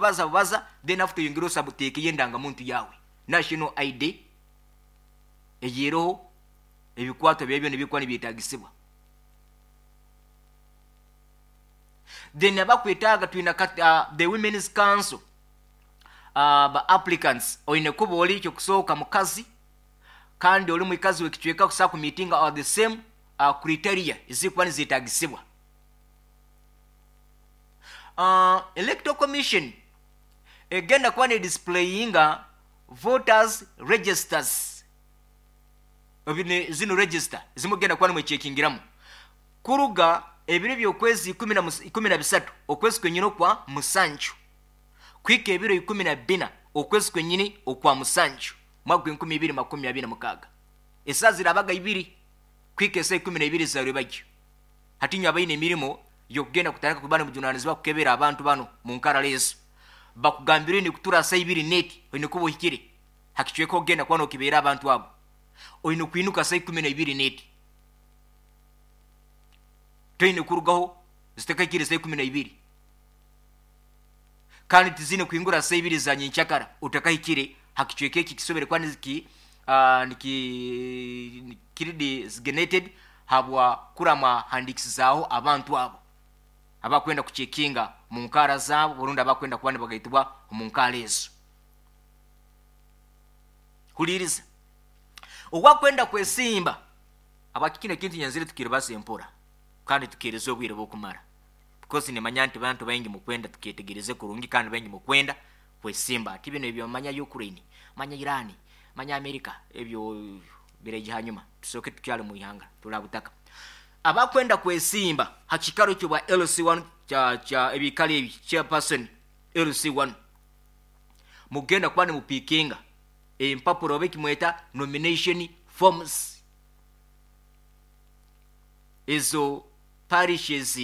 Kubaza bubaza, then after oyongere osabuteekeyo endangamuntu yawe, national ID eyeroho ebikwato byabyo nibikuba nibyetagisibwa. Then abakwetaaga twina the women's council, ba applicants oine kuba oli kyokusooka mukazi kandi oli mwikazi w'ekicweka kusa ku meeting are the same criteria ezikuba nizetagisibwa. Electoral Commission egenda kuba ne displayinga voters registers, zino register zimugenda kuba nimwechekingiramu kuruga ebiro by'okwezi 13 okwezi kwenyini okwa musanju kwika ebiro 14 okwezi kwenyini okwa musanju mwaka 2026. Esaa zirabaga ibiri kwika esaa 12 za rwebagyo. Hatinywa abaine emirimo yokugenda kutandika kuba nimujunanizibwa kukebera abantu bano mu nkara lezo, bakugambire ni kutura saa ibiri neti oine kuba ohikire hakicweka ogenda kuba nokibera abantu abo, oine kwinuka saa 12 neti, toine kurugaho zitakahikire saa 12, kandi tizine kuhingura saa ibiri za nyenkyakara otakahikire hakicweka eki kisobere kuba kiri designated habwa kurama handikisizaaho abantu abo abakwenda kuchekinga mu nkara zaabo burundi abakwenda kuba nibagaitibwa omu nkara ezo. Huliriza, owakwenda kwesimba abakikino ekintu nyanzire tukiribasa empora kandi tukiriza obwire bw'okumara, because nimanya nti bantu baingi mukwenda tukyetegereze kurungi kandi baingi mukwenda kwesimba. Ati bino ebyo manya Ukraine, manya Iran, manya America, ebyo bireje hanyuma tusoke tukyale mu ihanga tulabutaka. Abakwenda kwesimba hakikaro kyo bwa LC1 cha ebikali ebi chairperson LC1 mugenda kuba nimupikinga empapuro oba ekimweta nomination forms. Ezo parishes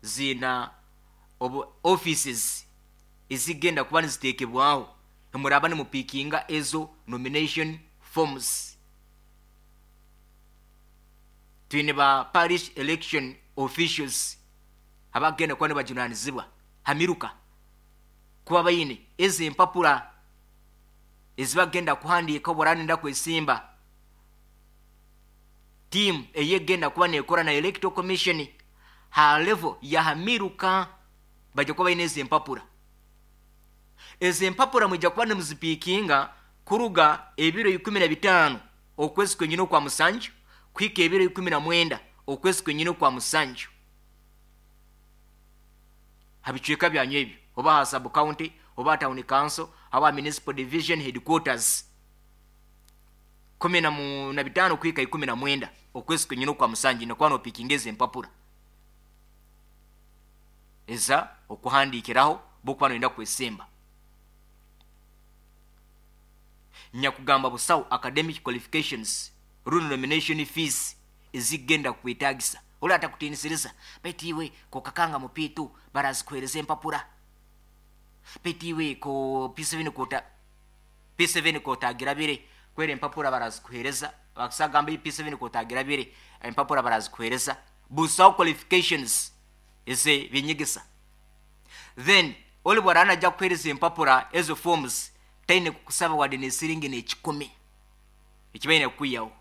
zina obu offices ezigenda kuba nizitekebwaho, muraba nimupikinga ezo nomination forms. Twine ba parish election officials abagenda kuba nibajunanizibwa hamiruka kuba baine ezo empapura ezibagenda kuhandiika oburanenda kwesimba. Team eyegenda kuba nekora na electoral commission ha level ya hamiruka bajja kuba baine ezo empapura. Ezo empapura mwijja kuba nimuzipikinga kuruga ebiro 15 okwezi kwenyini okwa musanju kuhika ebiro 19 okwezi kwenyini okwa musanju habicweka byanyu ebyo, oba ha sub county oba town council oba municipal division headquarters, 15 kuhika 19 okwezi kwenyini okwa musanju nikuba nopikinga ezo empapura eza okuhandikiraho bokuba noyenda kwesemba. Nyakugamba busawo academic qualifications rundi nomination fees ezigenda kwetagisa ori atakutinisiriza baitu iwe kokakanga mupitu barazikuhereza empapura, baitu iwe ko P7 kota P7 kotagira bire kwera empapura barazikuhereza, bakisagamba P7 kotagira bire empapura barazikuhereza. Busawo qualifications eze binyegesa. Then oli bwarana ajja kuhereza empapura ezo forms taine kukusaba wadde nesiringi n'ekikumi ekibaine kukuyaho.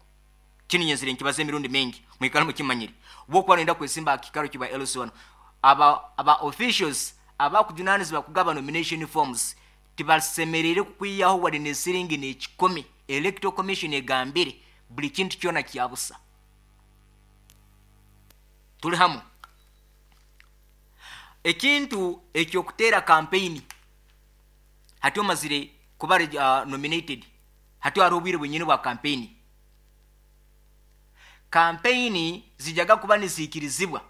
Kino nyenzire nkibaza emirundi mingi mwikale mukimanyire. Bwokuba noyenda kwesimba akikaro kiba LC1, aba officials abakujunanizibwa kugaba nomination forms tibasemerere kukuyaho wadde nesiringi n'ekikumi. Electoral Commission egambire buli kintu kyona kyabusa. Tuli hamu. Ekintu ekyokutera campaign hati omazire kuba nominated, hati hariho obwire bwenyini bwa campaign. Campaign zijaga kuba niziikirizibwa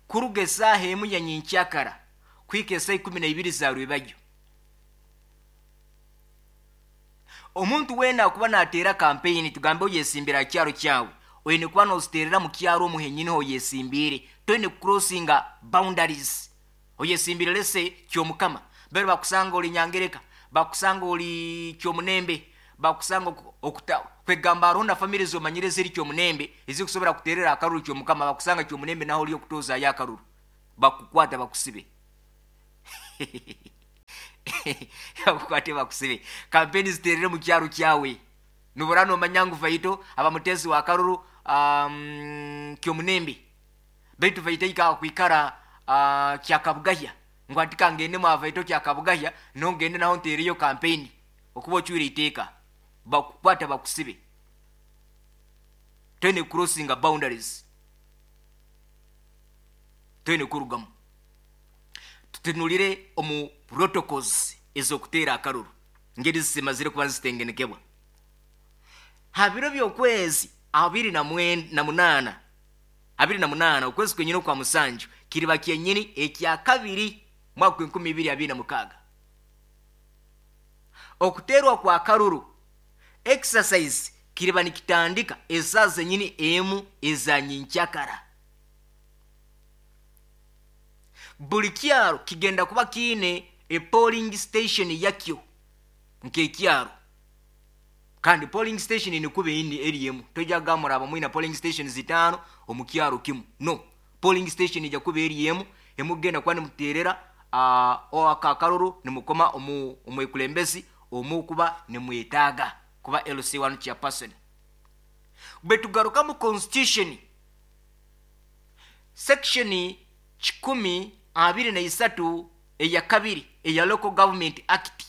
kuruga esaaha emu ya nyenkyakara kuhika esaa 12 za rwebagyo. Omuntu weena akuba nateera campaign, tugambe oyesimbira aha kyaro kyawe, oine kuba noziterera mu kyaro omuhenyini oyesimbire, toine kucrossinga boundaries. Oyesimbire lese kyomukama, bere bakusanga oli Nyangereka, bakusanga oli Kyomunembe, bakusanga okuta kwegamba aronda family zomanyire ziri Kyomunembe ezikusobora kuterera akaruru Kyomukama, bakusanga Kyomunembe naho oli okutoza ya akaruru, bakukwata bakusibe. Bakukwate bakusibe. Kampeni ziterere mu kyaro kyawe. Nubura nomanya ngu Vaito abamutezi wa karuru Kyomunembe, baitu Vaito ikakwikara Kyakabugahya, ngu atika ngende mwa Vaito Kyakabugahya, no ngende naho ntereyo kampeni. Okuba ocwire iteeka, bakukwata bakusibe. Toine crossinga boundaries, toine kurugamu. Tutunulire omu protocols ez'okuteera akaruru ngeri zimazire kuba nizitengenekebwa. Ha biro by'okwezi 28, 28 okwezi kwenyini okwa musanju, kiriba kyenyini ekya kabiri mwaka 2026. Okuteerwa kwa karuru exercise kiriba nikitandika esaa zenyini emu eza nyenkyakara. Buli kyaro kigenda kuba kiine e polling station yakyo nk'ekyaro, kandi polling station nikuba eri emu. Tojja kugamba muraba mwina polling station 5 omu kyaro kimu. No, polling station ijja kuba eri emu, emugenda kuba nimuterera akakaruru nimukoma omwekulembezi omukuba nimwetaaga kuba LC1 chairperson. Bwe tugaruka mu constitution section 123 eya kabiri eya Local Government Act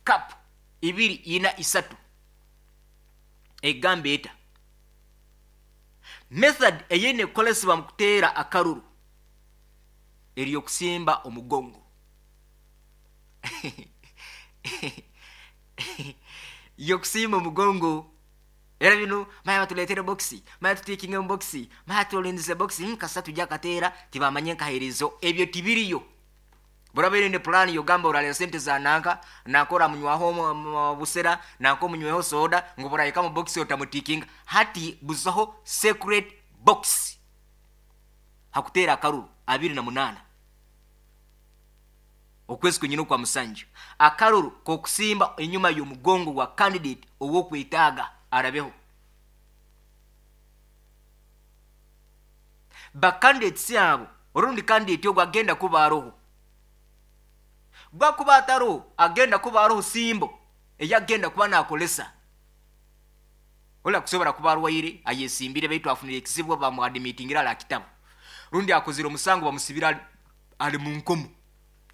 cap 243 egamba eta method eyine kukolesebwa mu kuteera akaruru eri okusimba omugongo. Yokusimba omugongo era bino maya batuletere boxi, maya tutikinge mu boxi, maya tulindize boxi, kasa tujja kateera tibamanye nkaherezo ebyo tibiriyo. Burabe ne plan yogamba orale sente za nanka nakora munywaho busera nanko munyweho soda ngo burayika mu boxi otamutikinga. Hati buzaho secret box hakutera akaruru 28 okwezi kwenyini kwa musanju. Akaruru kokusimba enyuma y'omugongo wa candidate owokwetaaga arabeho. Ba candidates abo orundi candidate ogwo agenda kuba aroho, gwakuba ataro agenda kuba aroho simbo eyagenda kuba nakolesa. Ola kusobora kuba arwaire ayesimbire baitu afunire ekizibu bamuadmitingira ala kitabu, rundi akozire omusango bamusibira ali mu nkomo.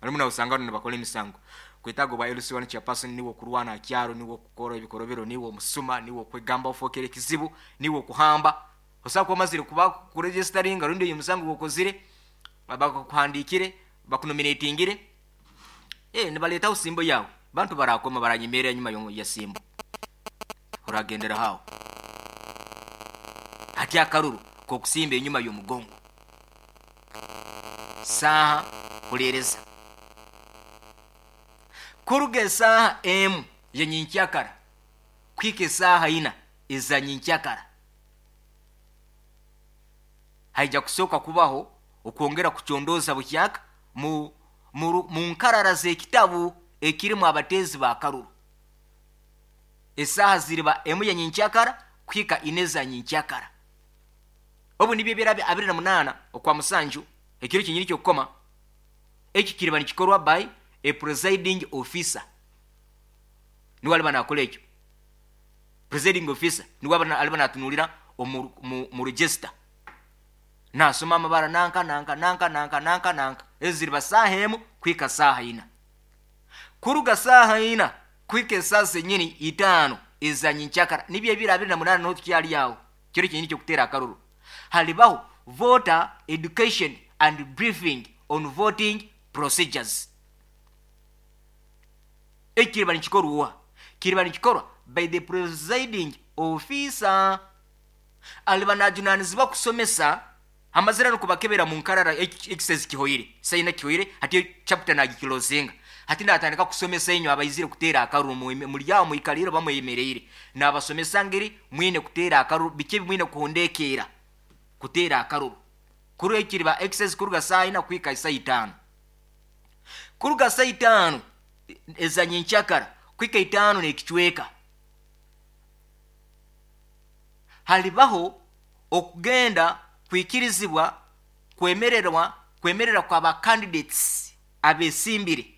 Alimu na usangano ne bakole emisango. Kwetago ba LC1 chairperson niwo kurwana akyaro, niwo kukora ebikorobero, niwo musuma, niwo kwegamba ofokere ekizibu, niwo kuhamba. Osaba kuba mazire kuba kuregisteringa rundi uyu musango gokozire bakuhandikire bakunominatingire, nibaleta usimbo yawe. Bantu barakoma baranyemera nyuma ya simbo. Uragendera hao. Hati akaruru kokusimba enyuma y'omugongo. Saha kulereza. Kuruga saha emu ya nyenkyakara kwika saha ina eza nyenkyakara haija kusoka kubaho okwongera kuchondoza bukyaka mu nkarara z'ekitabu ekirimu abatezi ba karuru. Esaha ziriba emu ya nyenkyakara kwika ine za nyenkyakara. Obu nibyo birabe 28 okwa musanju ekiro kinyiri kyokukoma. Eki kiriba nikikorwa by a presiding officer. Niwe aliba nakola ekyo. Presiding officer niwe aliba natunulira mu register. Nasoma amabara nanka nanka nanka nanka nanka nanka. Ezo ziriba saha emu kwika saha ina. Kuruga saha ina kwika esaha zenyini 5 eza nyenkyakara. Nibyo ebiro 28 no tukyali awo. Kiro kinyini kyokutera akaruru. Halibaho voter education and briefing on voting procedures. Ekiriba nikikorwa. Kiriba nikikorwa by the presiding officer. Aliba najunanizibwa kusomesa amazira no kubakebera mu nkarara exercise kihoire. Sayina kihoire hati chapter nagikilozinga. Hati natandika kusomesa inyo abayizire kutera akaruru muri yawo muikaliro bamweyemereire. Nabasomesa ngeri mwine kutera akaruru bike mwine kuhondekera kutera akaruru. Kuru ekiriba exercise kuruga saa ina kwika saa 5. Kuruga saa 5 eza nyenkyakara kwika 5 n'ekichweka. Halibaho okugenda kwikirizibwa kwemererwa kwemerera kwa ba candidates abesimbire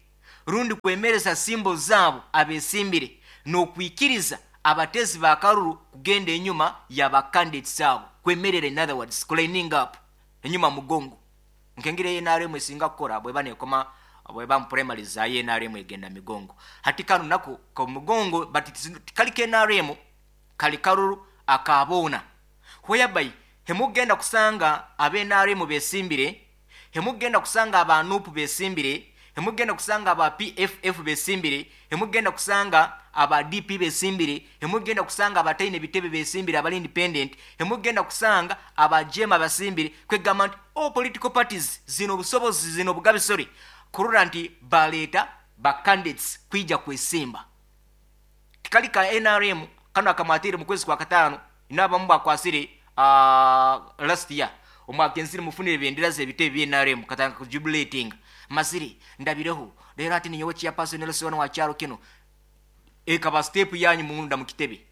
Rundi kwemereza simbo zaabo abesimbire n'okwikiriza abatezi ba karuru kugenda enyuma ya candidates abo, kwemerera, in other words kulining up enyuma mugongo, nkengire NRM esinga kukora bweba nekoma, bweba mu primaries za NRM egenda migongo. Hati kano nako ka mugongo, but kali ke NRM, kali karuru akabona, whereby hemugenda kusanga abe NRM besimbire, hemugenda kusanga aba NUP besimbire, hemugenda kusanga aba PFF besimbire, hemugenda kusanga aba DP besimbire, hemugenda kusanga abataine bitebe besimbire, abali independent, hemugenda kusanga aba JEMA basimbire. Kwegamba nti all political parties zino obusobozi, zino obugabisore kurora nti baleeta ba candidates kwija kwesimba. Tikali ka NRM kano akamwatire mu kwezi kwa 5, inabamu bakwasire last year omwaka enziri mufunire bendera z'ebitebe bya NRM, katanga kujubilating mazire ndabireho rero ati ninyowe chairperson LC1 wa kyalo kino. Ekaba step yanyu munda mu kitebe.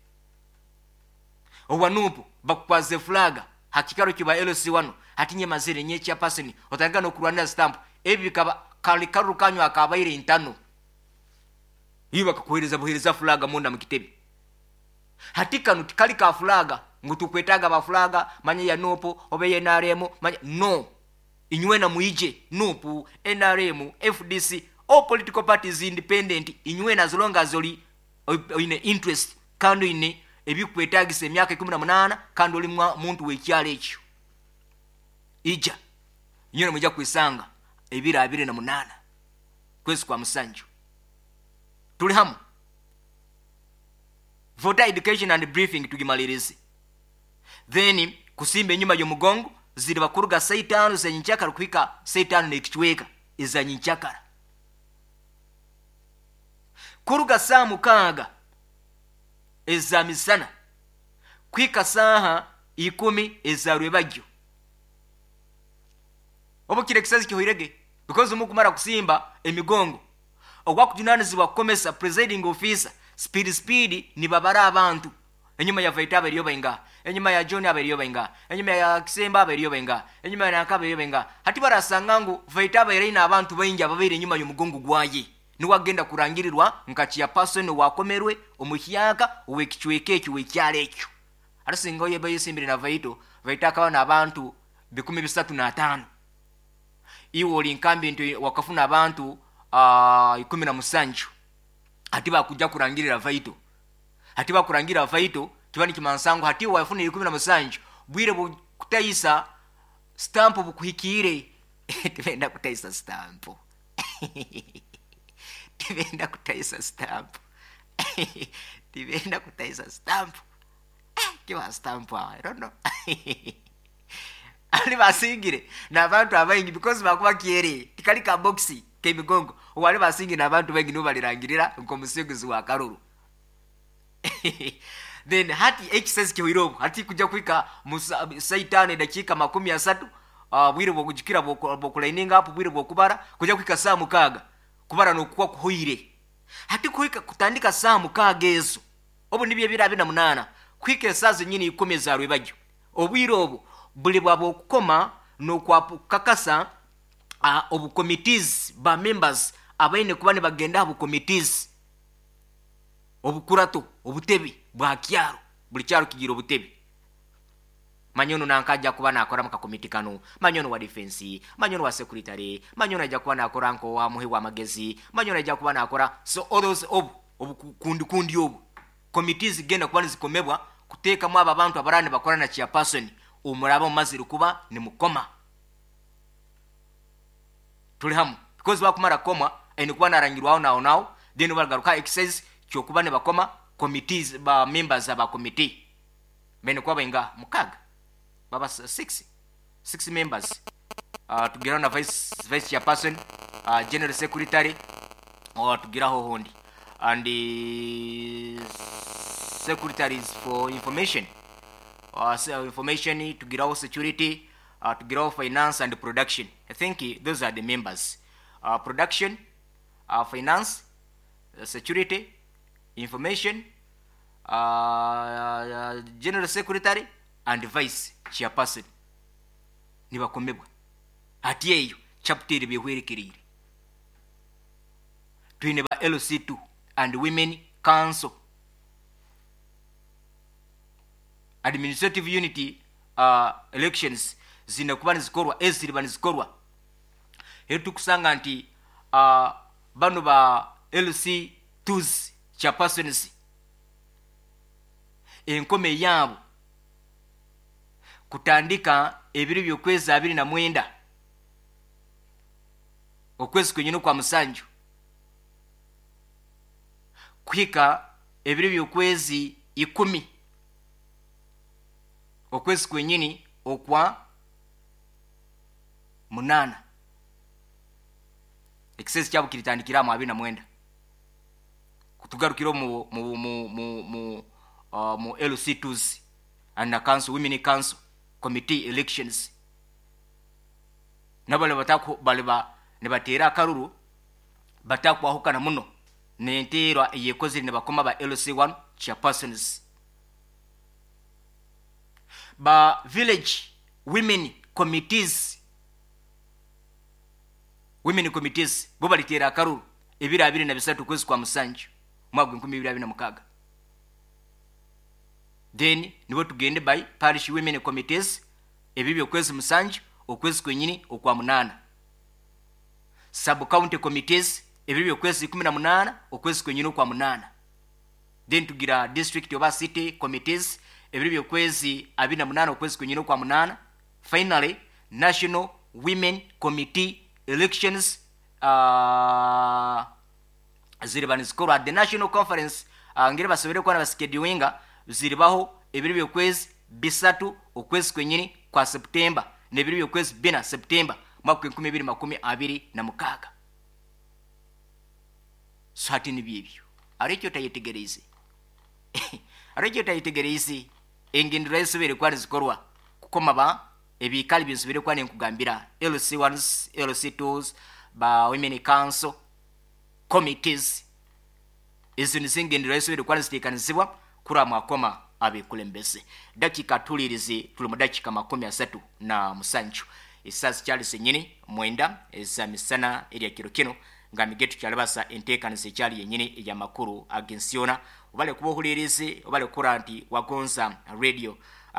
Owa NUP bakwaze flag hakikaro kiba LC1, ati nye mazire nye chairperson, otanga no kurwanira stamp. Ebi bikaba kali karu kanyu akabaire intano iyo bakakuhereza buhereza flag munda mu kitebe. Hati kano tikali ka flag ngu tukwetaga ba flag manye ya NUP obe ya NRM manye, no, inywe na muije NUP, NRM, FDC, all political parties, independent, inywe na as long as oli oine interest kandi oine ebikwetagisa emyaka 18 kandi oli muntu w'ekyalo ekyo, ija inywe mujja kwisanga ebiro 28 kwezi kwa 7. Tuli hamu. Voter education and briefing tugimalirize, then kusimba enyuma y'omugongo ziri bakuruga saa 5 za nyenkyakara kuhika saa 5 n'ekicweka eza nyenkyakara, kuruga saa 6 eza misana kuhika saaha 10 eza rwebagyo. Obu kire kisazi kihoirege, because mukumara kusimba emigongo ogwakujunanizibwa kukomesa presiding officer speed speed nibabara abantu enyuma ya Vaita aberiyo bainga, enyuma ya John aberiyo bainga, enyuma ya Kisemba aberiyo bainga, enyuma ya Nanka aberiyo bainga. Hati barasanga ngu Vaita abaire abantu baingi ababaire enyuma y'omugongo gwaye, niwagenda kurangirirwa nka chairperson wakomerwe omuhyaka ow'ekicweka ekyo w'ekyalo ekyo. Arasinga oyo bayesimbire na Vaito, Vaita akaba n'abantu 305, iwe oli nkambi nti wakafuna abantu 17. Hati bakujja kurangirira Vaito, hati bakurangira Vaito kiba nikimansango hati wafuna 17, bwire bukutayisa stamp bukuhikiire. Tibenda kutayisa stamp, tibenda kutayisa stamp, tibenda kutayisa stamp, kiba stamp awo, I don't know. Ali basingire n'abantu abaingi because bakuba kyere tikali ka box k'emigongo, wali basingire n'abantu baingi nibo balirangirira nk'omusinguzi wa karuru. Then hati ekisasi kihoire hati kujja kuhika saa 5 dakika 30, bwire bwokujukira bwokulining up, bwire bwokubara kujja kuhika saa 6 kubara nokuwa kuhoire. Hati kuhika kutandika saa 6 ezo obu nibyo ebiro 28 kuhika esaa zenyini 10 za rwebagyo, obwire obu buli bwa bwokukoma n'okwakakasa obu committees ba members abaine kuba nibagenda abu committees obukurato obutebe bwa kyaro, buli kyaro kigira obutebe. Manyono nankaja kuba nakora mu kakomiti kano, manyono wa defense, manyono wa secretary, manyono ajja kuba nakora nko wa muhi wa magezi, manyono ajja kuba nakora, so all those obu obukundi kundi obu committees genda kuba nizikomebwa kuteekamu aba bantu abarani bakora na chairperson omuraba mumazire kuba ni mukoma. Tuli hamu because bakumara koma eni kuba narangirwaho nawo nawo, then bagaruka exercise kyokuba ne bakoma committees ba members aba committee bene kuba bainga 6 baba 6 members, tugiraho na vice chairperson, general secretary, tugiraho hondi and the secretaries for information, information tugiraho security, tugiraho finance and production. I think those are the members, production, finance, security, information, general secretary and vice chairperson nibakomebwa. Ati eyo chapter bihwerekerire. Twine ba LC2 and Women Council administrative unit elections zine kuba nizikorwa, eziriba nizikorwa. Rero tukusanga nti bano ba LC2s chairpersons enkome yaabo kutandika ebiro by'okwezi 29 okwezi kwenyini kwa musanju kuhika ebiro by'okwezi 10 okwezi kwenyini okwa 8. Ekisezi kyabo kiritandikira mu 29 kutugarukira mu LC2s and the council, women council committee elections. Nabale batako baleba ne batera akaruru batakwahukana muno nenterwa eyekozire ne bakoma ba LC1 chairpersons. Ba village women committees, women committees bo balitera akaruru ebiro 23 kwezi kwa musanju mwaka 2026. Then nibo tugende by parish women committees ebibyo kwezi musanju okwezi kwenyini okwa 8. Sub county committees ebibyo kwezi 18 okwezi kwenyini okwa 8. Then tugira district oba city committees ebibyo kwezi 28 okwezi kwenyini okwa 8. Finally national women committee elections ziriba nizikorwa at the national conference. Ngere basobere kuba nabasikeduinga ziribaho ebiro by'okwezi 3 okwezi kwenyini kwa September n'ebiro by'okwezi 4 September mwaka 2026. So hati ni byebyo aricyo tayetegereze aricyo tayetegereze engendera esobere kwa zikorwa kukoma ba ebikali byensubire kwa nenkugambira LC1s LC2s ba women council committees ezo nizingendera esobere kwa zitekanizibwa kura mwakoma abekulembeze. Dakika tulirize tuli mu dakika 37 esasi Charles nyini mwenda eza misana erya kiro kino nga migetu kyalabasa enteekaniza ekyali yennyini eyamakuru agensiona obale kuba ohulirize obale kukora nti wagonza radio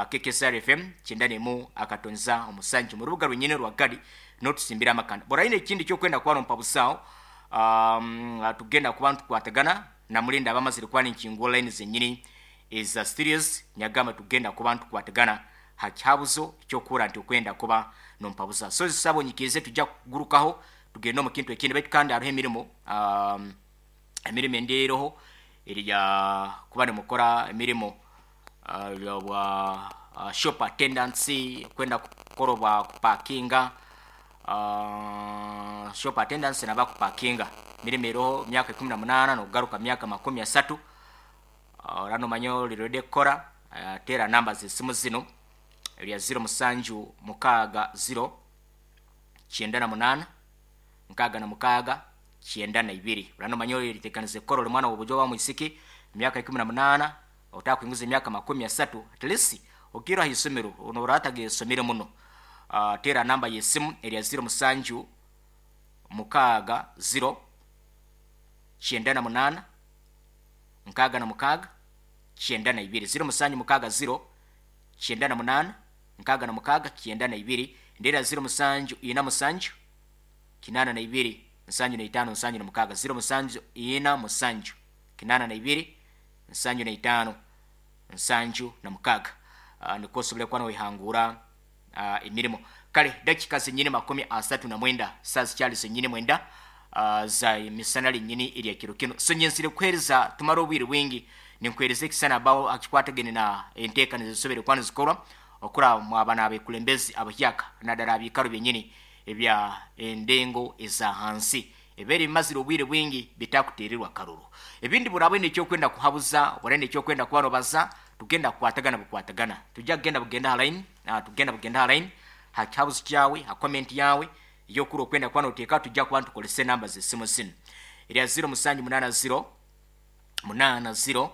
KKSR FM 91.7 mu rubuga lwennyini lwa Gadi n'otusimbira amakanda. Borayina ekindi ekyokwenda kuba nompa busaawo tugenda kuba ntukwatagana na mulinda abamazire kuba ninkingo line zennyini eza studios nyagamba tugenda kuba ntukwatagana hakyabuzo ekyokura nti okwenda kuba nompabuza. So zisabo nyikirize tujja kugurukaho tugenda omu kintu ekindi baitu kandi hariho emirimu emirimu endiiroho erya kuba nimukora emirimu bwa shop attendance kwenda kukora bwa kupakinga shop attendance naba kupakinga emirimu eroho myaka 18 nokugaruka myaka 30. Orano manyo lirede kukora tera namba z'esimu zino erya 0 7 6 0 98 66 92. Urano manyo litekanise kukora oli mwana w'obujo wa mwisiki myaka 18 otakwinguza emyaka 30 at least okira hisomero ono orataga esomero muno. Tera namba y'esimu erya 0 7 6 0 98 66 92 0 7 6 0 98 66 92 ndera 0 7 4 7 82 75 76 0 7 4 7 82 75 76. Niko osobole kuba noihangura emirimu. Kale dakika zenyini 39 saa zikyali zenyini 9 za misana linyini erya kiro kino. So nyensire kuhereza tumara obwire bwingi ninkuhereza ekisana abawo akikwatagene na enteekanizo zisobere kuba nizikorwa okura mwabana abekulembezi abahyaka naddala abikaro byenyini ebya endengo eza hansi ebere bimazire obwire bwingi bitakuteererwa karuru. Ebindi burabwe nekyokwenda kuhabuza burabwe nekyokwenda kubarobaza tugenda kukwatagana bukwatagana tujja kugenda bugenda line tugenda bugenda line hakihabuzo kyawe ha comment yawe yokura okwenda kuba noteeka tujja kuba ntukolese namba z'essimu zino erya 0 7 8 0 8 0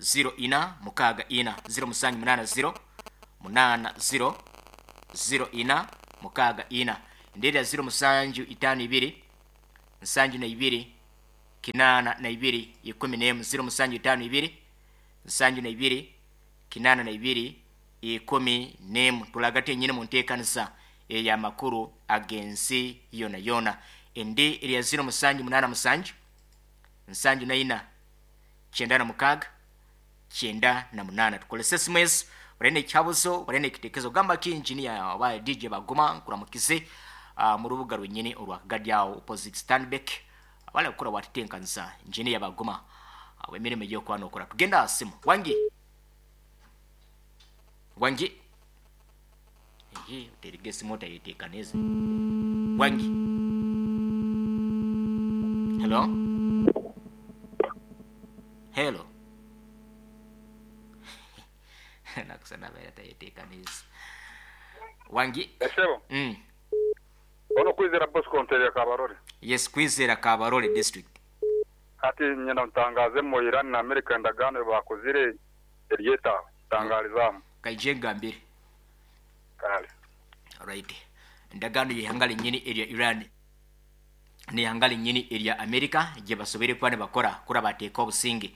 0 4 6 4 0 7 8 0 8 0 0 4 6 4 ndera 0 7 5 2 72 82 11, 0752 72 82 11. Tulagate enyini mu nteekanisa ey'amakuru ag'ensi yona yona. Endi erya 0787 74 96 98. Tukolese esimu ezo, oraine ekihabuzo, oraine ekitekezo, gamba ki engineer oba DJ Baguma nkuramukize mu rubuga rwenyini orwa Kagadi aho opposite Stanbic abale kukora watitenkanisa engineer Baguma emirimu ey'okwanokora. Tugenda aha simu. Wangi wangi, ehe, oterege esimu otayeteekanize. Wangi, hello hello. Nakusana abaire atayeteekanize. Wangi. Esebo. Ono Kwizera Bosco Nterera Kabarole. Yes, Kwizera Kabarole district. Hati nyenda ntangaazemu Iran na America endagaano ei baakozire eri eta aho? Ntangaarizaamu. Kaije ngambire. Kale. Alright. Endagaano y'eihanga rinyini erya Iran n'eihanga rinyini erya America gye basoboire kuba nibakora kura bateeka obusinge.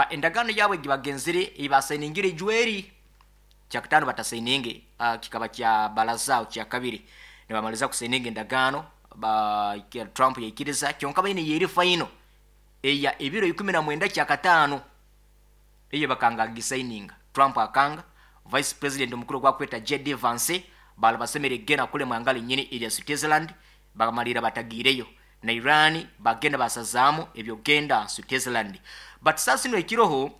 Endagaano yaabo egi bagenzire ei basainingire ijweri kyakutaano batasaininge, kikaba kya baraza aho kyakabiri nibamaliza kusaininga endagaano ba Trump yaikiriza, kyonka baine yeri final eya ebiro 19 kyakataano eyo bakanga kugisaininga. Trump akanga, Vice President omukuru ogwakweta JD Vance bali basemere kugenda kulema ihanga rinyini erya Switzerland, bamalira batagiireyo. Na Iran bagenda basazaamu ebyokugenda Switzerland. But sasa zino ekiroho,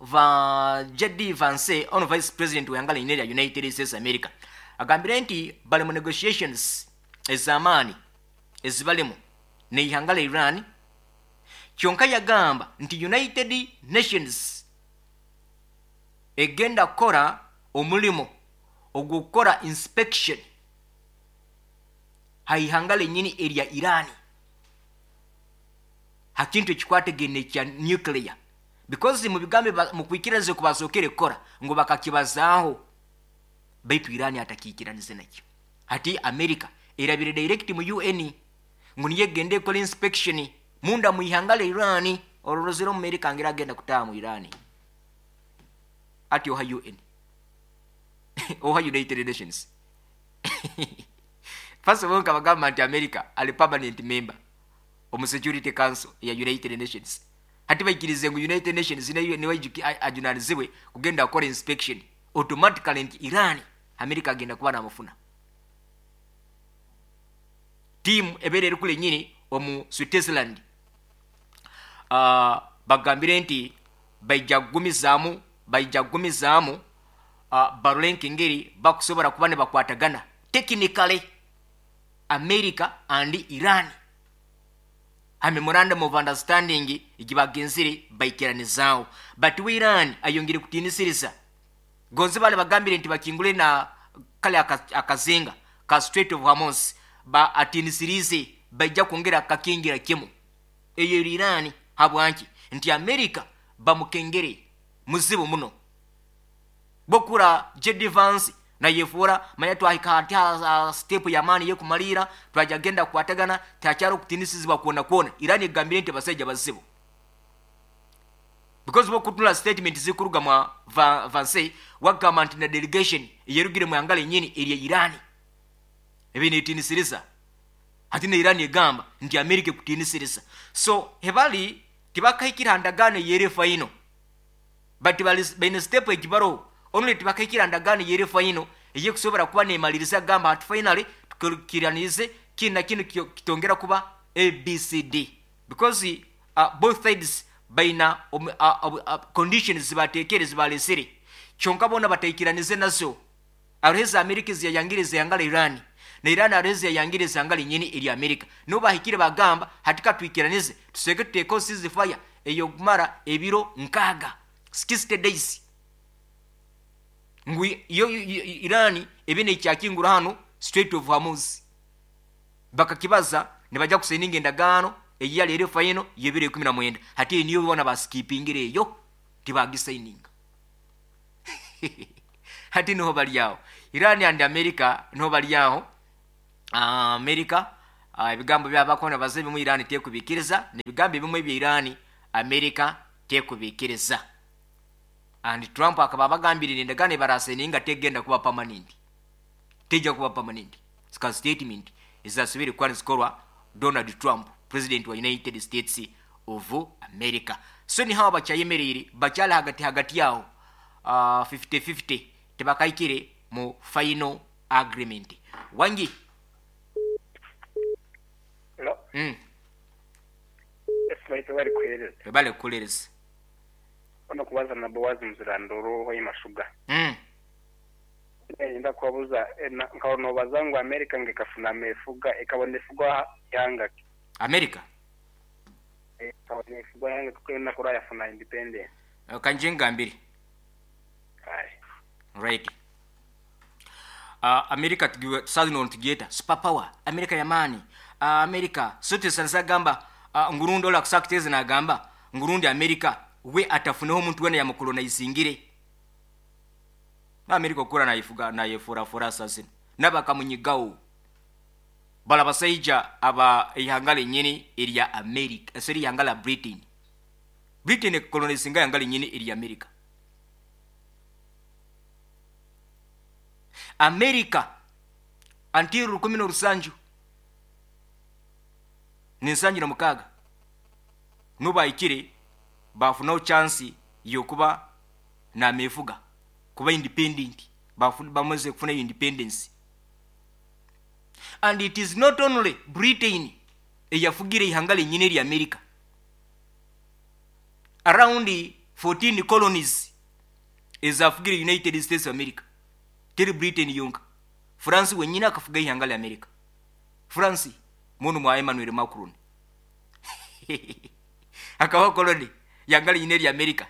va JD Vance ono Vice President w'ihanga rinyini erya United States America agambire nti bali mu negotiations ez'amaani ezibalimu n'eihanga lya Iran, kyonka yagamba nti United Nations egenda kukora omulimo ogw'okukora inspection ha ihanga lenyini erya Iran ha kintu ekikwatagaine ekya nuclear, because mu bigambo mu kwikiraniza oku basookere kukora ngu bakakibazaaho, baitu Iran atakiikiranize nakyo. Hati America erabire direct mu UN ngu niyo egenda ekora inspection munda mu ihanga lya Iran. Ororozere omu America ngira agenda kutaaha mu Iran ati oha UN oha United Nations? First of all, nkabagamba nti America ali permanent member omu Security Council eya United Nations. Hati baikirize ngu United Nations niwe ajunanizibwe kugenda kukora inspection, automatically nti Iran America agenda kuba namufuna. Tiimu ebeera eri kule nyini omu Switzerland, bagambire nti baija kugumizaamu barole nk'engeri bakusobora kuba nibakwatagana technically America and Iran ha memorandum of understanding egi bagenzire baikiranizaaho. But we Iran ayongere kutiinisiriza gonze bali bagambire nti bakingule na kale akazinga ka Strait of Hormuz, ba atiinisiriize baija kwongera kakingira kimu. Eyo eri Iran. Habwanki? Nti America bamukengere muzibu muno. Bokura JD Vance nayefuura manya twahika hati ha step y'amaani y'okumaliira, twaja genda kukwatagana, tihakyari okutiinisizibwa kwona kwona. Iran egambire nti abasaija bazibu, because bokutunula statement zikuruga mwa Vance wagamba nti na delegation eyerugire mu ihanga lenyini erya Iran ebi netiinisiriza. Hati na Iran egamba nti America ekutiinisiriza. So hebali tibakahikire ha ndagaano eyeri final, but baine step egibaroho only. Tibakahikire ha ndagaano eyeri final eyekusobora kuba nemaliriza gamba hati finally tukiranize kinu na kinu kitongera kuba ABCD, because both sides baina conditions zibatekere zibalesere, kyonka bona bataikiranize nazo. Hariho eza Amerika eziyayangire ihanga lya Iran, na Iran hariho eziyayangire ihanga linyini erya Amerika. Nibo bahikire bagamba hati katwikiranize tuseke tuteekeho ceasefire ey'okumara ebiro 60, 60 days, ngu yo Iran ebe nekyakingura hano Strait of Hormuz. Bakakibaza nibajja kusayininga endagaano eyali eri final y'ebiro 19. Hati eyo niyo bona baskipingire, eyo tibagisayininga. Hati niho bali aho, Iran and America niho bali aho. America Ebigambo byabo bakuba nibabaza ebimu Iran tekubikiriza, n'ebigambo ebimu ebya Iran America tekubikiriza. And Trump akaba abagambire endagaano ebarasayininga tegenda kuba permanent, tejja kuba permanent. Zika statement ezasobire kuba nizikorwa Donald Trump, president wa United States of America. So nihawa bakyayemereire, bakyali hagati hagati aho, 50-50, tibakahikire mu final agreement. Wangi. Hello. Yes, baitu bali kuhereza. Webale kukulereza. Ono kubaza na Boaz Muzirandoro wa Imashuga. Nenda kubabuza nka nobaza ngu America ngekafuna amefuga ekabona efugwa yanga ki? America? Ekabona efugwa yanga kuko nakura yafuna independence. Kanje ngambire. Aye. Right. America tusazi no tugiyeta super power America yamani. America sote sansa gamba ngurundi ola kusakiteze nagamba ngurundi America we atafuneho omuntu wena yamukolonizingire. Na America okura nayifuga nayefura fura sasino nabakamunyigawo bala basaija aba ihanga lenyini erya America seri ihanga la Britain. Britain ekolonizinga ihanga lenyini erya America. America until 17 76 nubayikire bafunaho chance yokuba namefuga kuba independent, bamaze kufuna independence. And it is not only Britain eyafugire ihanga lenyini erya America. Around 14 colonies ezafugire United States of America. Teri Britain yonka. France wenyini akafuga ihanga lya America. France munu mwa Emmanuel Macron akaba colony yanga lenyini erya America.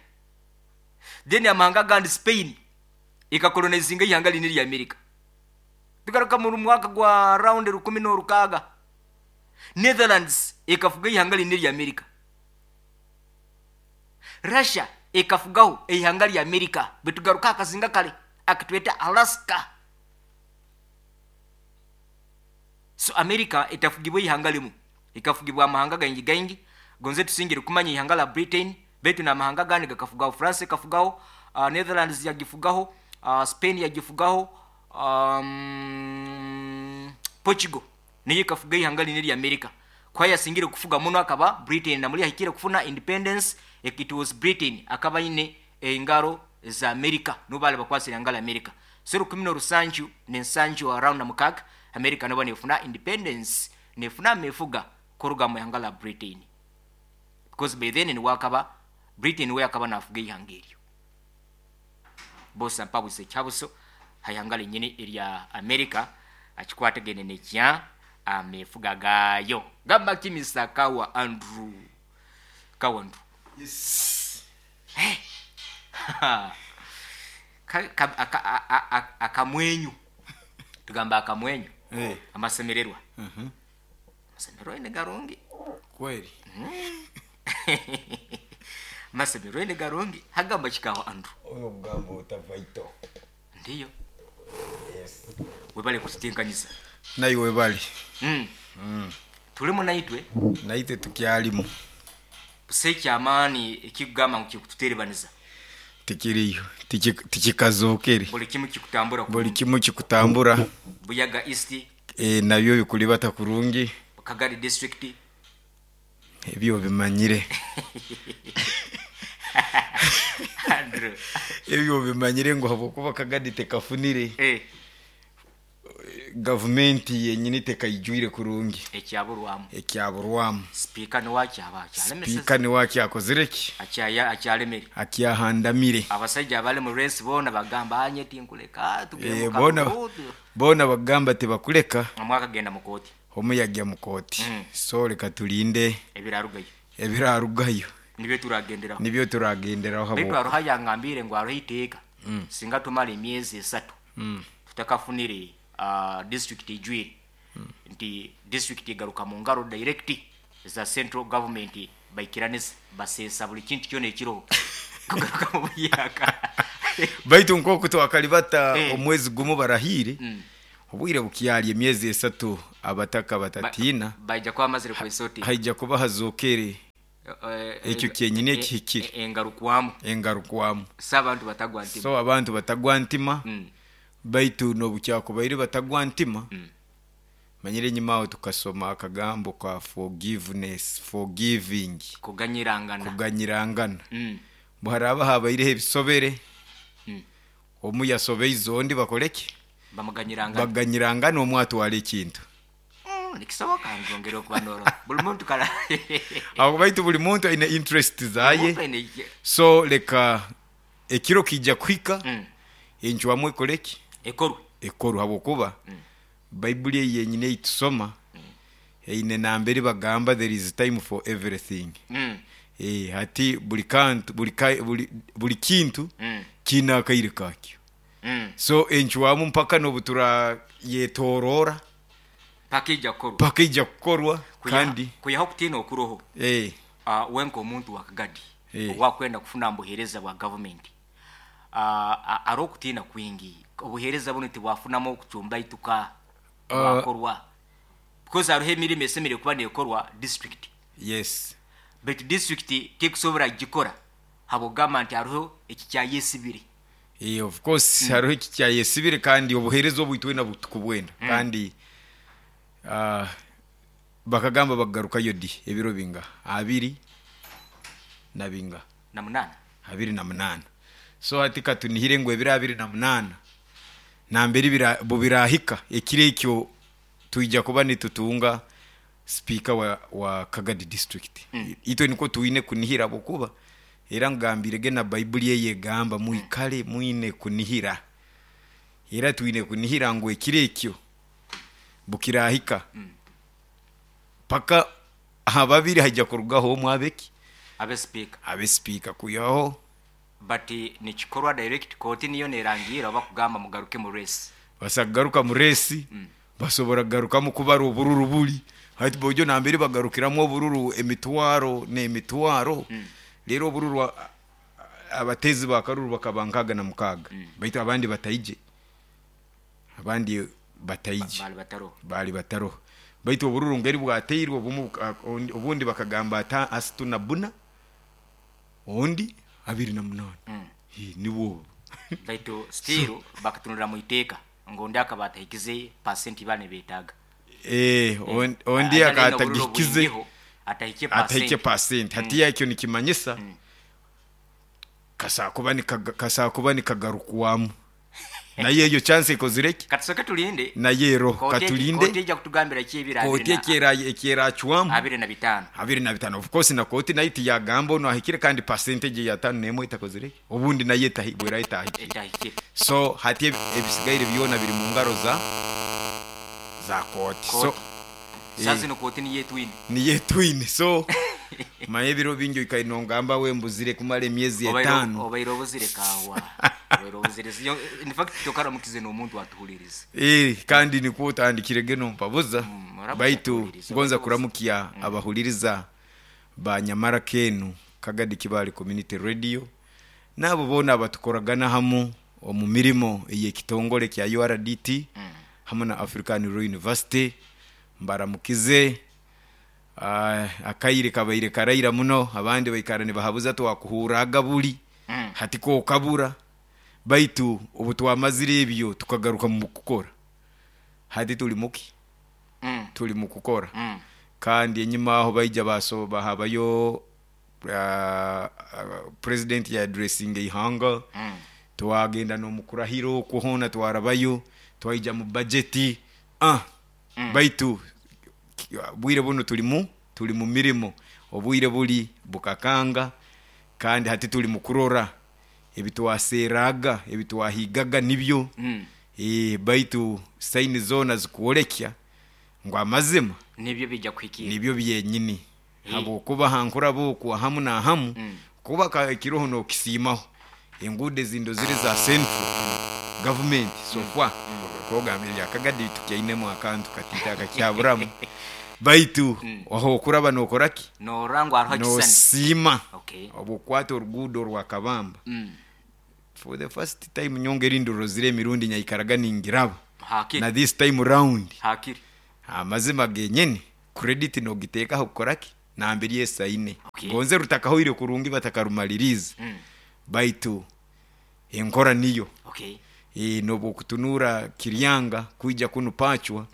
Then amahanga gandi Spain ikakolonizinga ihanga lenyini erya America. Tugaruka mu mwaka gwa round 16 Netherlands ikafuga ihanga lenyini erya America. Russia ikafugaho ihanga lya America. Betugaruka akazinga kale akitweta Alaska. So America etafugibwa ihanga limu, ikafugibwa amahanga gaingi gaingi. Gonze tusingire kumanya ihanga la Britain betu na mahanga gani gakafugaho. France ikafugaho, Netherlands yagifugaho, Spain yagifugaho, Portugal niyo ikafuga ihanga linene lya America. Kwa yasingire kufuga muno akaba Britain na muri ahikire kufuna independence, it was Britain akaba ine engaro za America nubale bakwasira ngala America. So 17 around na mukaga America nabo nefuna independence, nefuna mefuga kuruga mu ihanga la Britain. Because by then ni wakaba Britain we akaba nafuga ihanga eryo. Bosa mpabuse kyabuso hayanga lenyini erya America akikwatagene nekya amefuga gayo. Gamba kimisa kawa Andrew. Kawa Andrew. Yes. Hey. Akamwenyu. Tugamba akamwenyu. Hey. Amasemererwa. Amasemererwa ni garungi. Kweli. Amasemererwa ni garungi. Hagamba chikawa Andrew. Oyo mgambo utavaito. Ndiyo. Yes. Webale kututenkanyiza. Nayi webale. Tulimu naitwe. Naitwe tukyalimu. Busekyamaani ekigamba ngu kikututerebaniza. Tikiriyo, tikikazokere. Buli kimu kikutambura. Buli kimu kikutambura. Buyaga East. Nabyo bikulibata kurungi. Kagadi district. Ebyo bimanyire. Andrew. Ebyo bimanyire ngu habwokuba Kagadi tekafunire. Gavumenti yenyini tekayijwire kurungi. Ekyaburwamu. Ekyaburwamu. Speaker ni wakyaba akyalemeseza. Speaker ni wakyakozire ki? Akyalemere. Akyahandamire. Abasajja abali mu race bona bagamba anye tinkuleka tugende mu Bona bagamba tebakuleka. Omwaka genda mu kooti. Omuyajja mu kooti. So leka tulinde ebirarugayo. Ebirarugayo. Nibyo turagenderaho. Nibyo turagenderaho. Baitu aroha yangambire ngu aroha iteeka. Singa tumala emyezi 3. Tutakafunire district ijwire. Nti district igaruka mu ngaro direct za central government baikiraniza basesa buli kintu kyona ekiro kugaruka mu buyaka. Baitu nkoku twakalibata omwezi gumu barahire. Obwire bukyali emyezi 3 Abataka batatiina. Baija kuba bamazire kwesoti. Haija kuba hazookere ekyo kyenyini ekihikire. Engarukwamu. Engarukwamu. So abantu batagwa ntima. So abantu batagwa ntima. Baitu n'obukyakubaire batagwa ntima, manyire enyuma aho tukasoma akagambo ka forgiveness, forgiving. Kuganyirangana. Kuganyirangana. Mbu haraaba habaireho ebisobere, omu yasobeize ondi bakoreki? Bamuganyirangana. Baganyirangana omu atwara ekintu. Nikisoboka nzongere okuba norora buli muntu kara. Aho baitu buli muntu aine interest zaye. Muntu aine. So leka ekiro kiija kuhika, encwamu ekoreki? Ekorwe. Ekorwe habwokuba Baibuli eyi yenyini eyi tusoma eine nambere bagamba there is time for everything. Hati buli kantu, buli ka, buli, buli kintu kiine akaire kakyo. So encwamu mpaka n'obu turayetorora paka ija kukorwa. Paka ija kukorwa. Kandi kwihaho okutiina okuroho. We nk'omuntu wa Kagadi owakwenda kufuna mbuheereza bwa gavumenti, hariho okutiina kwingi obuheereza bunu tibwafunamu okucumbaituka bwakorwa, because hariho emirimo esemeriire kuba nekorwa district. Baitu district tekusobora kugikora habw'okugamba nti hariho ekikyayesibire. Of course hariho ekikyayesibire kandi obuheereza obu itwena tukubwenda. Kandi bakagamba bakagarukayo di ebiro binga? Abiri na binga? Na munaana. 28. So hati katunihire ngu ebiro 28 nambere bubirahika ekiro ekyo twija kuba nitutunga sipiika wa Kagadi district. Itwe nikwo twine kunihira habwokuba era ngambirege na Baibuli eyo egamba mwikale mwine kunihira. Era twine kunihira ngu ekiro ekyo bukirahika paka aha babiri haija kurugaho omwe abeki? Abe sipiika. Abe sipiika kwihaho. But nikikorwa direct kooti niyo nerangiira oba kugamba mugaruke mu race. Basobola kugaruka mu race, basobora kugarukamu kubara obururu buri. Hati bojo nambere bagarukiramu obururu emitwaro n'emitwaro, rero obururu abatezi ba karuru bakaba nkaaga na mukaaga. Baitu abandi bataije. Abandi bataije. Bali bataroho. Bali bataroho. Baitu obururu ngeri bwateirwe obumu obundi bakagamba ata asitu na buna ondi 28. Nibwo obu. Baitu still bakatunura mu iteeka ngu ondi akaba atahikize percent baba nibetaaga. Ondi Anyina akaba obururu atagihikize bwingiho, atahikye atahikye percent. Percent. Hati ekyo nikimanyisa kasakuba nikagarukwamu. Naye eyo chance ekozire ki? Katusoke tulinde. Naye ero, katulinde. Kooti ejja kutugambira ki ebiro Kooti ekyeracwamu. 25. 25. Of course na kooti nayo tiyagamba ono ahikire kandi percentage ya 51 etakozire ki? Obundi nayo bwera etahikire. Etahikire. So hati ebisigaire byona biri mu ngaro za kooti. So, Kooti. Sasa zino kooti niyo etwine. Niyo etwine. So manye ebiro bingi oikaire nongamba we mbuzire kumara emyezi etaano. Obaire obuzire kawa. Obaire obuzire. Siyo, in fact tokaramukize n'omuntu atuhulirize. Kandi nikwo otandikire geno mpabuza. Oramuka Baitu atuhulirize, ngonza oramuka. kuramukia abahuliriza ba Nyamara Kenu Kagadi Kibale Community Radio nabo bona abatukoragana hamu omu mirimo ey'ekitongole kya URDT hamu na African Law University mbaramukize. Akaire kabaire karaira muno abandi baikara nibahabuza twakuhuraga buli hati kokabura baitu obu twamazire ebyo tukagaruka mu kukora hati tuli muki? Tuli mu kukora. Kandi enyuma aho baija basoba habayo president ya addressing ihanga. Twagenda n'omukurahiro okuhona twarabayo twaija mu budget. Baitu bwire buno tuli mu mirimo obwire buli bukakanga kandi hati tuli mu kurora ebitwaseraga ebitwahigaga nibyo. Baitu saini zona zikuolekya ngu amazima nibyo bijja kuhikira nibyo byenyini. Habwokuba hankura bokwa hamu na hamu kuba kiroho nokisiimaho enguudo ezindo ziri za central government so far. Kogambira lya Kagadi tukyainemu akantu katita akakyaburamu baitu aho okuraba nokoraki? Norangwa hariho ekisani. Nosiima. Obukwata oruguudo rwa Kabamba. For the first time nyongera indoro zire emirundi nyaikaraga ningiraba. Hakiri. Na this time round. Hakiri. Amazima genyini credit nogiteekaho kukoraki nambere esaine. Okay. Gonze rutakahoire kurungi batakarumaliriize, baitu enkora niyo. Okay. N'obwokutunuura Kiryanga kwija kunu Pachwa,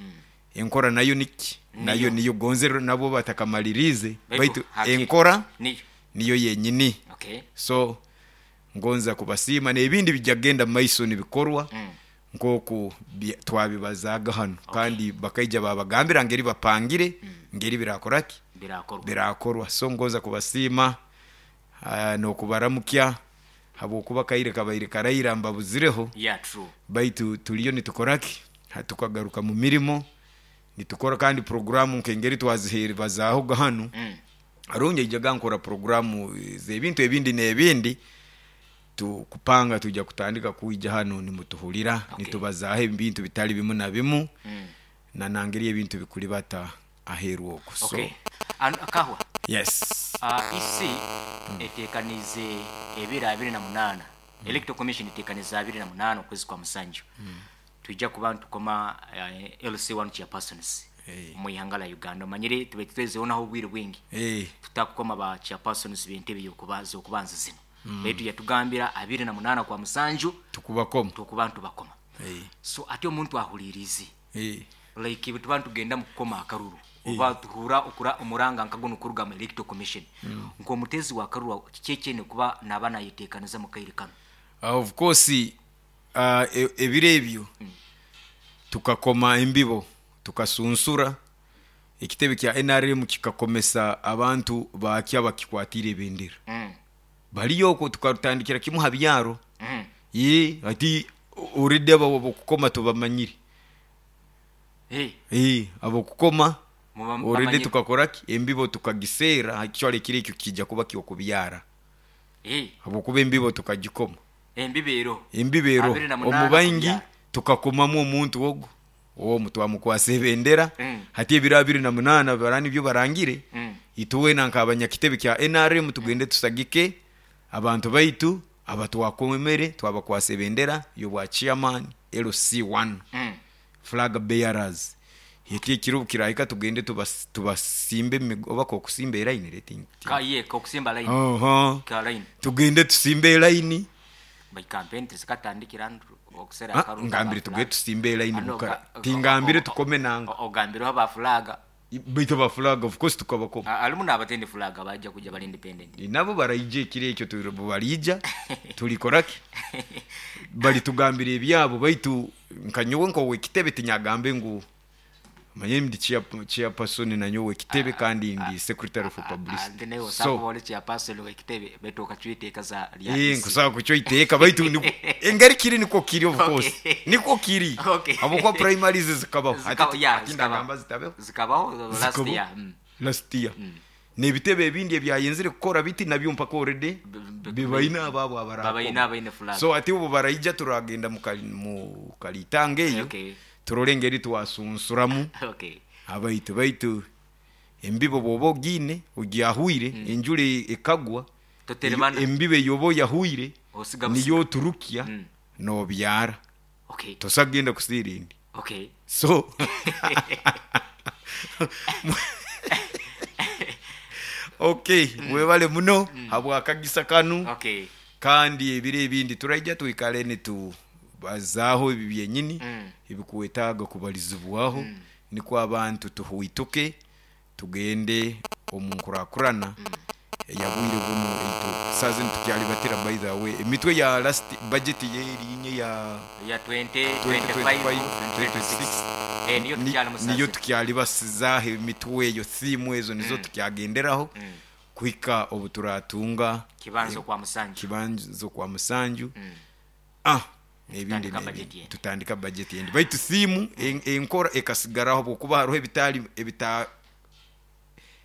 enkora nayo niki? Nayo niyo, gonze nabo batakamaliriize, Baitu baitu hakiri. enkora Niyo. niyo yenyini. Okay. So ngonza kubasiima, n'ebindi bijja kugenda mu maiso nibikorwa nk'oku twabibazaaga hanu. Kandi bakaija babagambira ngeri bapangire, ngeri birakoraki? Birakorwa. Birakorwa. So ngonza kubasiima, n'okubaramukya habwokuba kaire kabaire karaira mbabuzireho. Yeah, true. Baitu tuliyo nitukoraki? Tukagaruka mu mirimo nitukora, kandi programu nk'engeri twaziheerezaahoga hanu. Arungi aijaga nkora programu z'ebintu ebindi n'ebindi, tukupanga tujja kutandika kwija hanu nimutuhurira. Nitubazaaho ebintu bitali bimu na bimu, na nangeri ebintu bikulibata aheeru okwo. So Okay. Kahwa. Yes. EC eteekanize ebiro 28. Electoral Commission eteekanize 28 okwezi kwa musanju. Tujja kuba ntukoma LC1 chairpersons mu ihanga la Uganda. Omanyire tube twezeonaho obwire bwingi. Tutakukoma ba chairpersons b'entebe y'okubanza okubanza zino. Baitu yatugambira 28 kwa musanju tukubakoma. Tukuba ntubakoma. So ate omuntu ahulirize. Like tuba ntugenda mu kukoma akaruru. Oba tuhura okura omuranga nkagono kuruga mu Electoral Commission. Nk'omutezi wa karuru kiki kuba naba nayeteekaniza mu kaire kano? Of course, ebiro ebyo tukakoma embibo, tukasunsura ekitebe kya NRM, kikakomesa abantu bakya bakikwatira ebendera. Baliyo okwo, tukarutandikira kimu ha byaro. Ye ati already abo bokukoma tubamanyire. Hey. Abokukoma already bamanyire. Tukakoraki embibo tukagiseera, actually ekiro ekyo kijja kuba kyokubyara. Hey. Habwokuba embibo tukagikoma. Embibo Embibero 28 omubaingi kubyara. Tukakomamu omuntu ogwo omu twamukwasa ebendera. Hati ebiro 28 bara nibyo barangire. Ituwena nk'abanyakitebe kya NRM tugende tusagike abantu baitu abatwakomere, twabakwasa ebendera y'obwa chairman LC1, flag bearers. Eki ekiro kirahika tugende tubasimbe oba kokusimba eraini reti. Ka ye kokusimba line. Oho. Ka line. Tugende tusimbe eraini. By campaign tizikatandikira okusera Ah, ngambire tugende tusimbe eraini mukara tingambire tukome nanga. Ogambireho ba flag. Baitu ba flag of course tukabakoma. Alimu n'abatende flag bajja kujja bali independent. Nabo baraija ekiro ekyo, barija tulikoraki balitugambira ebyabo, baitu nkanyowe nkowe ekitebe tinyagambe ngu manye ndi chairperson nanyowe ekitebe kandi ndi secretary for publicity. Ante nawe So osaba ole chairperson w'ekitebe baitu okacwiteeka za lya Eh, nkusaba kucyo iteeka, baitu engeri kiri niko kiri, of course. Niko kiri. Habwokuba primaries zikabaho. Yeah, Ati zikabaho. ndagamba zitabeho. Zikabaho last Zikabaho. year. Last year n'ebitebe ebindi ebyayenzire kukora biti nabyo mpaka already bibaine abaabo abarakoma. Babaine abaine flag. So ati ubu baraija turagenda mu kalitanga eyo, turole engeri twasunsuramu abaitu, baitu embibo bwoba ogiine ogyahwire, enjura ekagwa, Toteremana. Embibo eyoba oyahwire Osiga busiga. niyo oturukya nobyara. Tosagenda kusiira endi. So okay, webale muno habwakagisa kanu. Kandi ebiro ebindi turaija twikale nitubazaaho ebi byenyini ebikuwetaaga kubalizibwaho, nikwo abantu tuhuituke tugende omu nkurakurana eyabwire buno eitu sazi nitukyalibatira. By the way, emitwe ya last budget yerinye ya Ya 2025 2025 2026, niyo tukyali musazi. Niyo tukyalibasizaho emitwe eyo, thimu ezo nizo tukyagenderaho kuhika obu turatunga kibanzo kwa musanju. Kibanzo kwa musanju, n'ebindi Tutandika n'ebindi. Budget yendi. Tutandika budget yendi, baitu thimu enkora ekasigaraho bwokuba hariho ebitali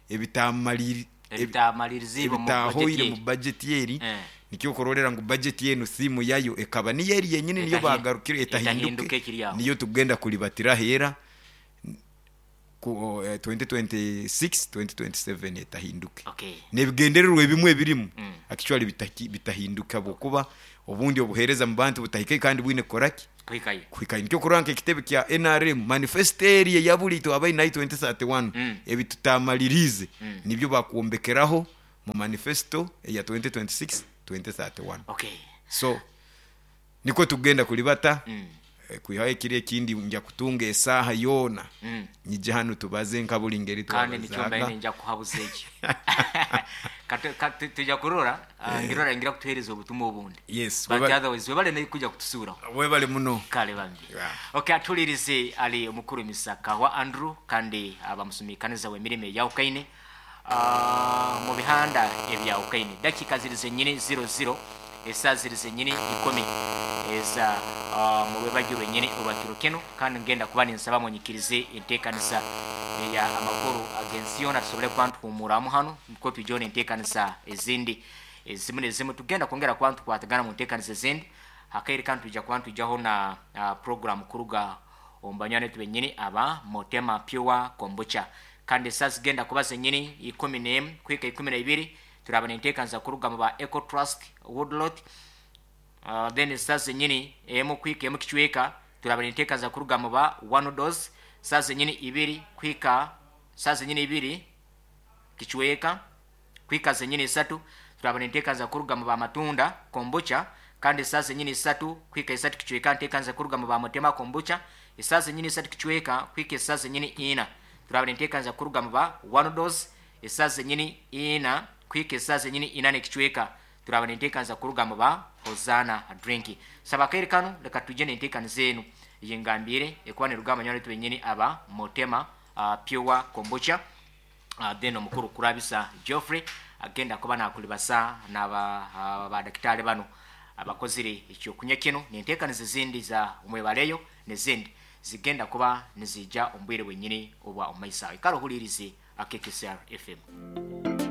ebitamaliri Ebitamaliriziibwe mu budget ebitahoire mu yeri. budget yeri. Nikyo okurorera ngu budget yenu thimu yayo ekaba niyo eri yenyini, niyo bagarukire etahinduke etahinduke ekiri aho. Niyo tugenda kulibatira hera ku 2026 2027 etahinduke. N'ebigendererwa ebimwe ebirimu actually bitahinduka bwokuba obundi obuheereza mu bantu butahike kandi bwine kukoraki. Kuhikayo. Kuhikayo. Nikyo kurora nk'ekitebe kya NRM manifesto eri eyabuli twabaire nayo 2031, ebi tutamaliriize nibyo bakwombekeraho mu manifesto eya 2026 2031. So nikwo tugenda kulibata. Kwihaho ekiro ekindi nja kutunga esaaha yoona, nyije hanu tubaze nka buli ngeri Kandi nikyo mbaire twabazaaga. Ninja kuhabuza eki. Tujja kurora, ngirora ngira kutuhereza obutumwa obundi. Yes, But otherwise webale naye kuja kutusuuraho. Webale muno. Kale bambi. Yeah. Okay, atulirize ali omukuru Misaka wa Andrew, kandi abamusumikaniza w'emirimo eyawukaine mu bihanda ebyawukaine. Dakika ziri zenyini 00, esaa ziri zenyini 10 eza mu rwebagyo rwenyini orwa kiro kino. Kandi ngenda kuba ninsaba munyikirize enteekanisa eya amakuru ag'ensi yoona tusobole kuba nituhumuramu hanu, niko twijeho n'enteekanisa ezindi ezimu nezimu. Tugenda kwongera kuba nitukwatagana mu nteekanisa ezindi hakaire, kandi twija kuba nitwijaho na program kuruga omu banywani betu benyini aba Motema Pure Kombucha. Kandi esaa zigenda kuba zenyini 11 kuhika 12, turaba nenteekanisa kuruga mu ba Eco Trust Woodlot. Then esaa zenyini 1 kuhika 1 kicweka, turaba nenteekanisa kuruga mu ba One Dose. Saa zenyini 2 kuhika saa zenyini 2 kicweka kuhika zenyini 3, turaba nenteekanisa kuruga mu ba Matunda Kombucha. Kandi saa zenyini 3 kuhika 3 kicweka, nteekanisa kuruga mu ba Motema Kombucha. Esaa zenyini 3 kicweka kuhika esaa zenyini 4, turaba nenteekanisa kuruga mu ba One Dose. Esaa zenyini 4 kuhika esaa zenyini 4 n'ekicweka, turaba nenteekanisa kuruga mu ba Hosana Drink. Saba akaire kanu reka tuje nenteekanisa enu eyengambire ekuba neruga abanywani betu benyini aba Motema Pure Kombucha. Then omukuru Kurabisa Geoffrey agenda kuba nakulibasa n'aba badakitari bano abakozire ekyokunywa kino, nenteekaniza ezindi za omwebaleyo nezindi zigenda kuba nizija omu bwire bwenyini obwa omumaiso aho. Ikara ohulirize AKKCR FM.